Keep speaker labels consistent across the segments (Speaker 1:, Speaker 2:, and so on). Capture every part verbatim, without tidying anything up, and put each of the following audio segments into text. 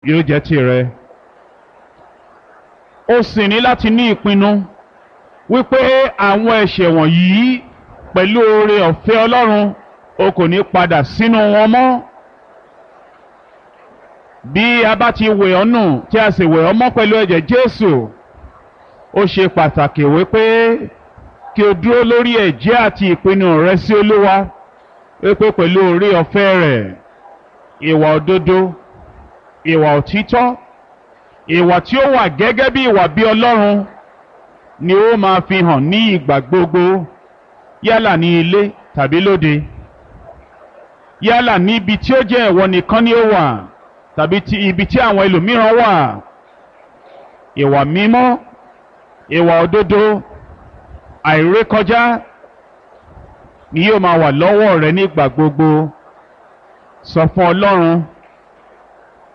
Speaker 1: yóò jẹ́ tìrẹ. O sì ní láti ní ìpinnu wípé àwọn ẹ̀ṣẹ̀ wọ̀nyí pẹ̀lú oore ọ̀fẹ́ Ọlọ́run o kò ní padà sínú wọn mọ́. Bí a bá ti wẹ̀ ọ́ nù tí a sì wẹ̀ ọ́ mọ́ pẹ̀lú ẹ̀jẹ̀ Jésù, ó ṣe pàtàkì wípé kí o dúró lórí ẹ̀jẹ́ àti ìpinnu rẹ sí Olúwa wípé pẹ̀lú oore ọ̀fẹ́ rẹ̀, ìwà òdodo, ìwà òtítọ́, ìwà tí ó wà gẹ́gẹ́ bí ìwà bí Ọlọ́run ni ó máa fi hàn ní ìgbà gbogbo, yálà ní ilé tàbí lóde, yálà níbi tí ó jẹ́ ìwọ nìkan ni ó wà tàbí ti ibi tí àwọn ẹlòmíràn wà. Ìwà mímọ́, ìwà òdodo, àìrékọjá ni yóò máa wà lọ́wọ́ rẹ nígbà gbogbo. Sọ fún Ọlọ́run,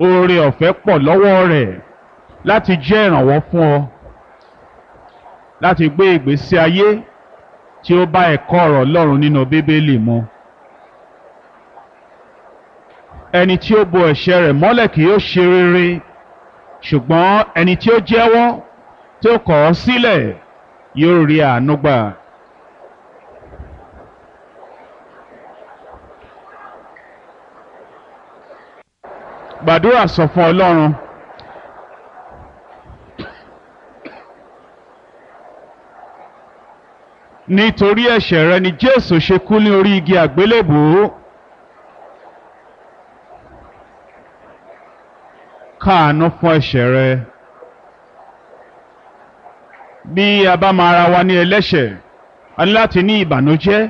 Speaker 1: oore ọ̀fẹ́ pọ̀ lọ́wọ́ rẹ̀ láti jẹ́ ìrànwọ́ fún ọ láti gbé ìgbésí ayé tí ó bá ẹ̀kọ́ ọ̀rọ̀ Ọlọ́run nínú Bíbélì mu. Ẹni tí ó bo ẹ̀ṣẹ̀ rẹ̀ mọ́lẹ̀ kì yóò ṣe rere, ṣùgbọ́n ẹni tí ó jẹ́wọ́ tí ó kọ̀ ọ́ sílẹ̀ yóò rí àánú gbà. Gbàdúrà sọ fún Ọlọ́run. Nítorí ẹ̀ṣẹ̀ rẹ ni Jésù ṣe kú ní orí igi àgbélébùú. Káàánú fún ẹ̀ṣẹ̀ rẹ. Bí a bá máa ra wa ní ẹlẹ́ṣẹ̀, a ní láti ní ìbànújẹ́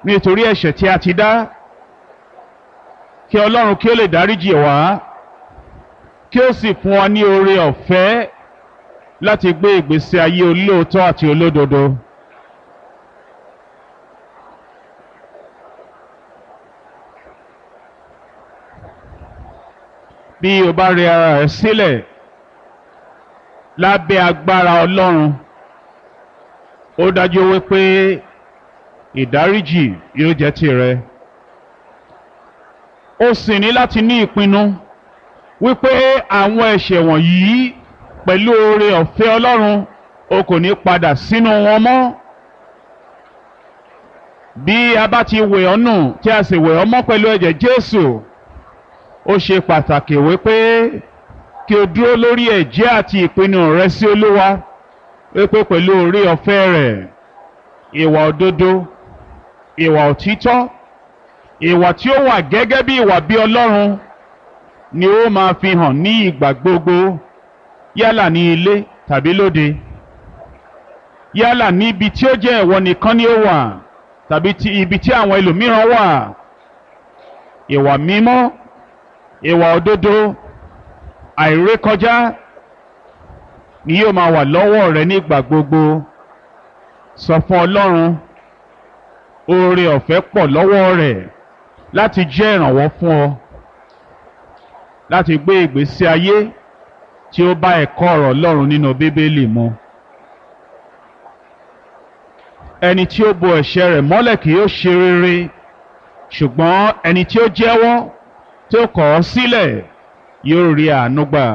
Speaker 1: nítorí ẹ̀ṣẹ̀ tí a ti dá, kí Ọlọ́run kí ó lè dáríjì wá, kí ó sì fún wa ní oore ọ̀fẹ́ láti gbé ìgbésí ayé olóòótọ́ àti olódodo. Bí o bá rẹ ara rẹ sílẹ̀ lábẹ́ agbára Ọlọ́run, ó dájú wípé ìdáríjì yóò jẹ́ tìrẹ. O sì ní láti ní ìpinnu wípé àwọn ẹ̀ṣẹ̀ wọ̀nyí pẹ̀lú oore ọ̀fẹ́ Ọlọ́run o kò ní padà sínú wọn mọ́. Bí a bá ti wẹ̀ ọ́ nù tí a sì wẹ̀ ọ́ mọ́ pẹ̀lú ẹ̀jẹ̀ Jésù, ó ṣe pàtàkì wípé kí o dúró lórí ẹ̀jẹ́ àti ìpinnu rẹ sí Olúwa wípé pẹ̀lú oore ọ̀fẹ́ rẹ̀, ìwà òdodo, ìwà òtítọ́, ìwà tí ó wà gẹ́gẹ́ bí ìwà bí Ọlọ́run ni ó máa fi hàn ní ìgbà gbogbo, yálà ní ilé tàbí lóde, yálà níbi tí ó jẹ́ ìwọ nìkan ni ó wà tàbí ti ibi tí àwọn ẹlòmíràn wà. Ìwà mímọ́, ìwà òdodo, àìrékọjá ni yóò máa wà lọ́wọ́ rẹ nígbà gbogbo. Sọ fún Ọlọ́run, oore ọ̀fẹ́ pọ̀ lọ́wọ́ rẹ̀ láti jẹ́ ìrànwọ́ fún ọ láti gbé ìgbésí ayé tí ó bá ẹ̀kọ́ ọ̀rọ̀ Ọlọ́run nínú Bíbélì mu. Ẹni tí ó bo ẹ̀ṣẹ̀ rẹ̀ mọ́lẹ̀ kì yóò ṣe rere, ṣùgbọ́n ẹni tí ó jẹ́wọ́ tí ó kọ̀ ọ́ sílẹ̀ yóò rí àánú gbà.